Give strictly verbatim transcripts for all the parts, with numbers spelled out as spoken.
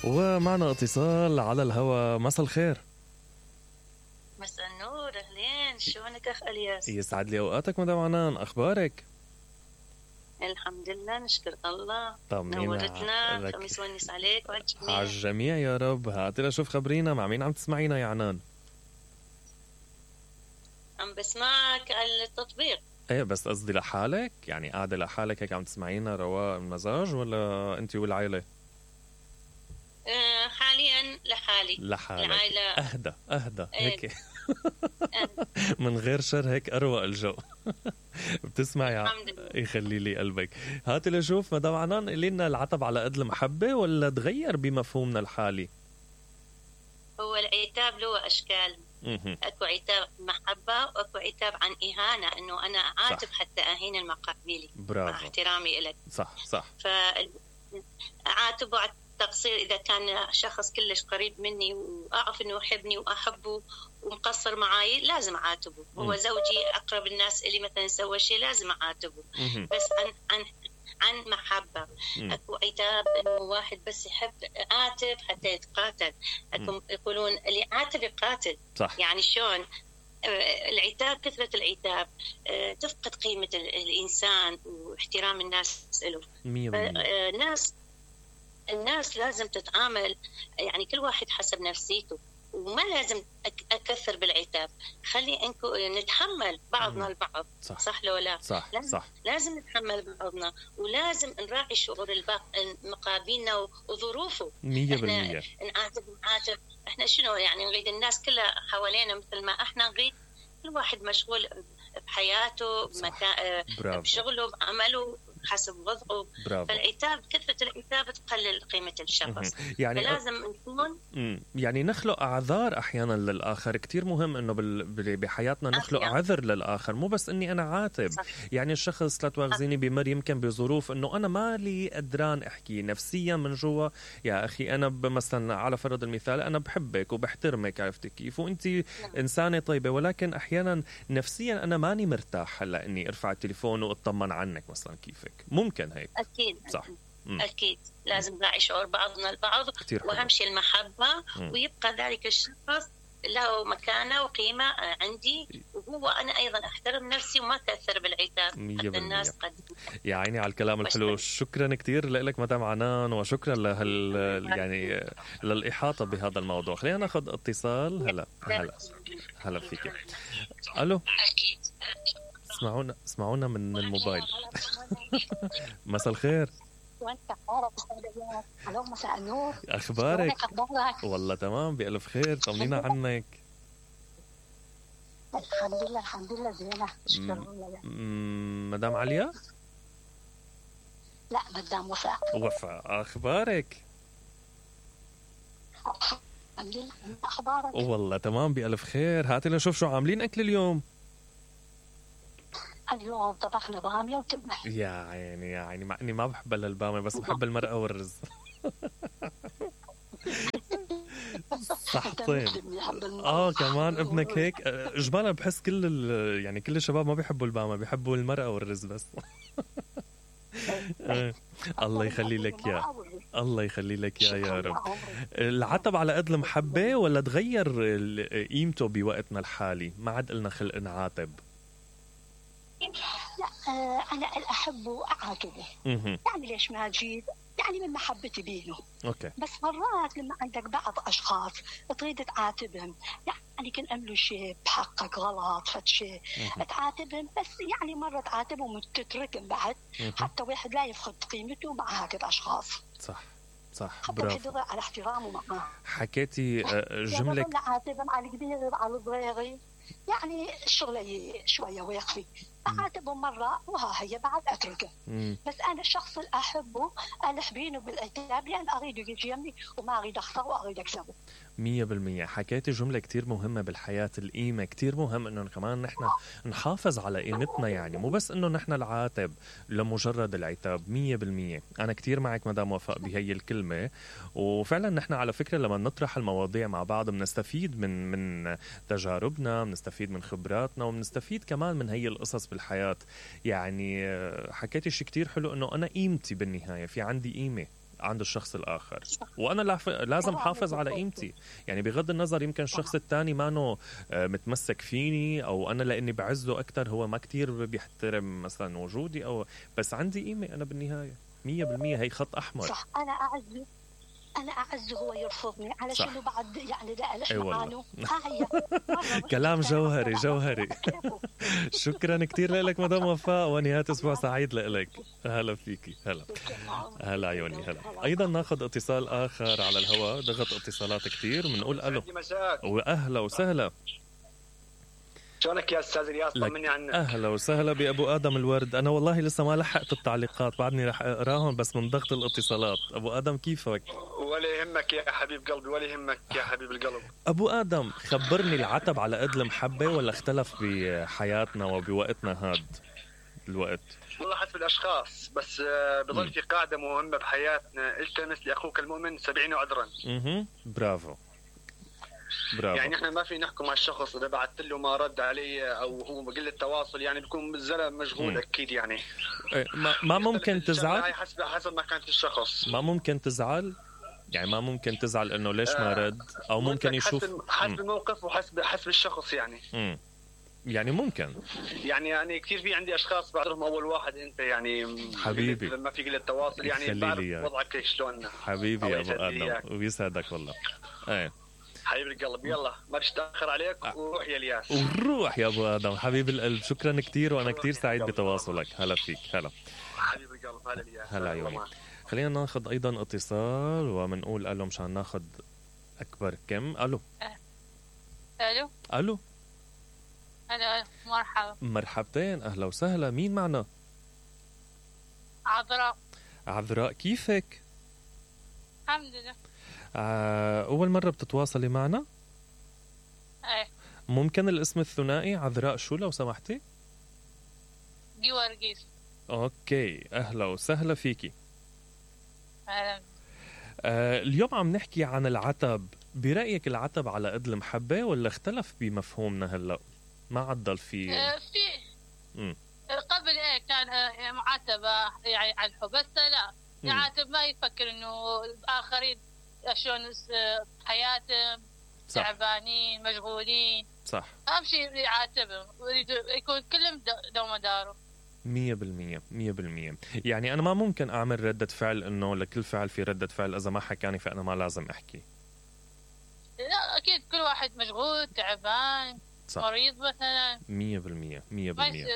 ومعنا اتصال على الهواء. مساء الخير. مساء النور، اهلين، شلونك اخ الياس؟ يسعد لي اوقاتك مدام عنان، اخبارك؟ الحمد لله نشكر الله. طمنينا نورتنا، خميس ونس عليك وعلى الجميع. على الجميع يا رب. هاتي لشوف خبرينا مع مين عم تسمعينا يا عنان؟ عم بسمعك على التطبيق. ايه بس قصدي لحالك، يعني قاعدة لحالك هيك عم تسمعينا رواق المزاج ولا انت والعائلة؟ أه حاليا لحالي. لحالك. العائلة اهدى اهدى ايه. هيك من غير شر هيك اروق الجو. بتسمعي؟ الحمد لله. يخلي لي قلبك. هاتي لشوف مدام عنان، قولي لنا العتب على قد المحبة ولا تغير بمفهومنا الحالي؟ هو العتاب له اشكال. مهم. اكو عتاب محبة واكو عتاب عن اهانة، انه انا عاتب صح. حتى اهين المقابلي مع برافو. احترامي لك. صح صح. فاعاتبه على التقصير اذا كان شخص كلش قريب مني واعرف انه يحبني واحبه ومقصر معاي، لازم اعاتبه. مم. هو زوجي، اقرب الناس اللي مثلا سوى شيء لازم اعاتبه. مهم. بس عن عن عن محبة. مم. اكو عتاب انه واحد بس يحب عاتب حتى يتقاتل. اكو يقولون اللي عاتب يقاتل. صح. يعني شلون؟ آه، العتاب، كثرة العتاب آه، تفقد قيمة ال- الإنسان واحترام الناس له. مية بالمية. آه، الناس الناس لازم تتعامل، يعني كل واحد حسب نفسيته، وما لازم أك- أكثر بالعتاب. خلي انكو نتحمل بعضنا مم. البعض. صح صح لو لا؟ صح لازم, صح. لازم نتحمل بعضنا، ولازم نراعي شعور الباق- مقابلنا و- وظروفه. مية احنا بالمية. نعاتب نعاتب احنا شنو يعني نريد الناس كلها حوالينا مثل ما احنا نريد؟ كل واحد مشغول بحياته، صح. بمكا... برافو بشغله، بعمله، حسب وضعه. برافو. فالعتاب، كثرة العتاب تقلل قيمة الشخص. مهم. يعني فلازم نكون مم. يعني نخلق أعذار أحيانا للآخر. كتير مهم إنه بال... بال- بحياتنا نخلق أحيانا. عذر للآخر، مو بس إني أنا عاتب. صح. يعني الشخص لا تواخذيني بمر يمكن بظروف إنه أنا مالي قدران أحكي نفسيا من جوا. يا أخي أنا ب- مثلا على فرض المثال أنا بحبك وبحترمك، عرفتي كيف، وأنت إنسانة طيبة، ولكن أحيانا نفسيا أنا ماني مرتاح هلا إني أرفع التليفون وأطمن عنك مثلا. كيفك؟ ممكن هيك. أكيد. صح. مم. أكيد لازم نراعي شعور بعضنا البعض، كتير حلو. وأهم شيء المحبة. مم. ويبقى ذلك الشخص له مكانة وقيمة عندي، وهو أنا أيضا أحترم نفسي وما تأثر بالعتاب. مية حتى بالمية. الناس قد يا عيني على الكلام الحلو. شكرا كتير لك مدام عنان، وشكرا لهال يعني للإحاطة بهذا الموضوع. خلينا ناخذ اتصال. هلا هلا هلا فيك. الو، أكيد. اسمعونا اسمعونا من الموبايل. مساء الخير. وانت عارف استاذ. الو مساء النور. اخبارك؟ شلونك؟ اخبارك؟ والله تمام بألف خير. طمنينا عنك. الحمد لله الحمد لله زينه. شكرا لله. م- مدام عليا؟ لا مدام وفاء. وفاء، اخبارك؟ الحمد لله. اخبارك؟ والله تمام بألف خير. هاتي لنشوف شو عاملين اكل اليوم. اليوم طبخنا باميه وتبه. يا عيني يا عيني، مع اني ما بحب الا الباميه، بس بحب المرقه والرز. صحتين. اه كمان ابنك هيك. اجمالا بحس كل ال... يعني كل الشباب ما بيحبوا الباميه، بيحبوا المرقه والرز بس. آه. الله يخلي لك يا الله يخلي لك يا يا رب. العتب على قد المحبه ولا تغير ال- قيمته بوقتنا الحالي؟ ما عاد قلنا خلق نعاتب. لا آه انا احبه اعاتبه. اها يعني ليش ما اجيب؟ يعني من محبتي بينه. اوكي. بس مرات لما عندك بعض اشخاص تريد تعاتبهم، يعني كان عملوا شيء بحقك غلط فد شيء مهم. تعاتبهم، بس يعني مره تعاتبهم وتتركهم بعد مهم. حتى واحد لا يفقد قيمته مع هكذا اشخاص. صح صح. حتى برافو. واحد على احترامه معاه. حكيتي آه، جمله يعني عاتبهم على الكبير على الصغير، يعني الشغله شويه ويخفي. اعاتبهم مره وها هي بعد اتركه. مم. بس انا الشخص اللي احبه الح بينه بالعتاب، لان اريد يجي يمي وما اريد اخسره واريد اكسبه. مية بالمية. حكيتي جملة كتير مهمة بالحياة، القيمة. كتير مهم انه كمان نحن نحافظ على قيمتنا، يعني مو بس انه نحن العاتب لمجرد العتاب. مية بالمية انا كتير معك مدام وفاء بهي الكلمة. وفعلا نحن على فكرة لما نطرح المواضيع مع بعض بنستفيد من من تجاربنا، بنستفيد من خبراتنا، وبنستفيد كمان من هي القصص بالحياة. يعني حكيتي شيء كتير حلو، انه انا قيمتي بالنهاية، في عندي قيمة. عند الشخص الآخر. وأنا لازم حافظ على قيمتي، يعني بغض النظر يمكن الشخص الثاني ما نو متمسك فيني، أو أنا لأني بعزه أكتر هو ما كتير بيحترم مثلا وجودي، أو بس عندي قيمة أنا بالنهاية. مية بالمية هي خط أحمر. صح. أنا أعزه أنا أعزه هو يرفضني علشان بعد يعني لا ألح معانه. كلام جوهري جوهري. شكرا كتير لك مدام وفاء، ونهاية أسبوع سعيد لك. هلا فيكي. هلا هلا عيوني. هلا أيضا ناخذ اتصال آخر على الهواء، ضغط اتصالات كتير، بنقول ألو وأهلا وسهلا. شلونك يا استاذ الياس؟ طمني عنك. اهلا وسهلا بابو ادم الورد. انا والله لسه ما لحقت التعليقات، بعدني رح اقراهم بس من ضغط الاتصالات. ابو ادم كيفك؟ ولا يهمك يا حبيب قلبي، ولا يهمك يا حبيب القلب. ابو ادم خبرني، العتب على قد المحبه ولا اختلف بحياتنا وبوقتنا هاد الوقت؟ والله حسب الاشخاص، بس بضل في قاعده مهمه بحياتنا: التمس لاخوك المؤمن سبعين عذرا. اها برافو برافو. يعني احنا ما في نحكم على الشخص اذا بعثت له ما رد علي او هو بقله تواصل، يعني بيكون الزلمه مشغول. م. اكيد يعني ما, ما ممكن تزعل حسب حسب ما كانت الشخص. ما ممكن تزعل يعني ما ممكن تزعل انه ليش ما رد، او ممكن يشوف حسب, حسب الموقف وحسب حسب الشخص يعني. م. يعني ممكن يعني يعني كثير في عندي اشخاص بعرفهم اول واحد انت يعني حبيبي ما في قله تواصل، يعني بعرف وضعك شلون. حبيبي يا ابو ادم ويسعدك والله. ايه حبيب القلب، يلا ما بديش اتاخر عليك وروح يا الياس. وروح يا ابو ادم حبيب القلب. شكرا كثير وانا كثير سعيد بتواصلك. هلا فيك. هلا حبيب القلب. هلا الياس. هلا عيوني. خلينا ناخذ ايضا اتصال وبنقول الو مشان ناخذ اكبر كم. الو الو الو هلا مرحبا. مرحبتين اهلا وسهلا. مين معنا؟ عذراء. عذراء كيفك؟ الحمد لله. أول مرة بتتواصلي معنا؟ ايه. ممكن الاسم الثنائي عذراء شو لو سمحتي؟ جوارجيس. أوكي أهلا وسهلا فيكي. أهلا. آه اليوم عم نحكي عن العتب. برأيك العتب على قد المحبة ولا اختلف بمفهومنا هلأ؟ ما عدل في آه في م. قبل ايه كان آه معاتبة يعني على الحب، بس لا يعاتب ما يفكر انه الآخرين شلون حياتهم تعبانين مشغولين. صح. أهم شيء يعاتبهم يكون كلهم دوم داره. مية بالمية مية بالمية. يعني أنا ما ممكن أعمل ردة فعل إنه لكل فعل في ردة فعل، إذا ما حكاني فأنا ما لازم أحكي. لا أكيد كل واحد مشغول تعبان. صح. مريض مثلا. مية بالمية مية بالمية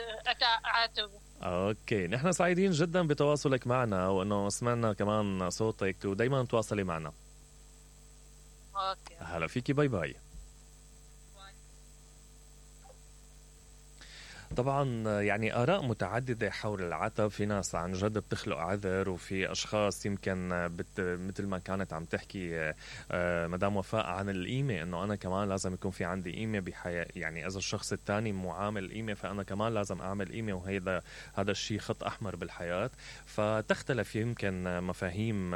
أعاتبه. أوكي نحن سعيدين جدا بتواصلك معنا وأنه سمعنا كمان صوتك، ودايما تواصلي معنا. أوكي. هلا فيكي. باي باي. طبعا يعني آراء متعددة حول العتب. في ناس عن جد بتخلق عذر، وفي أشخاص يمكن بت مثل ما كانت عم تحكي مدام وفاء عن القيمة، إنه أنا كمان لازم يكون في عندي قيمة بحياة. يعني إذا الشخص الثاني معامل قيمة فأنا كمان لازم أعمل قيمة، وهذا هذا الشيء خط أحمر بالحياة. فتختلف يمكن مفاهيم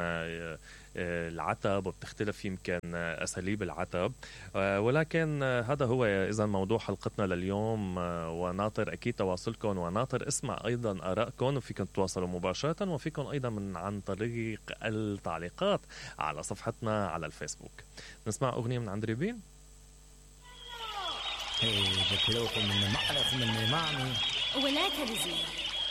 العتب، وبتختلف يمكن أساليب العتب، ولكن هذا هو إذا موضوع حلقتنا لليوم. وناطر أكيد تواصلكم، وناطر اسمع أيضا آرائكم، وفيكم تتواصلوا مباشرة، وفيكم أيضا من عن طريق التعليقات على صفحتنا على الفيسبوك. نسمع أغنية من عند ريبين. Hey, the pillow from the man from the man. ولا تلزي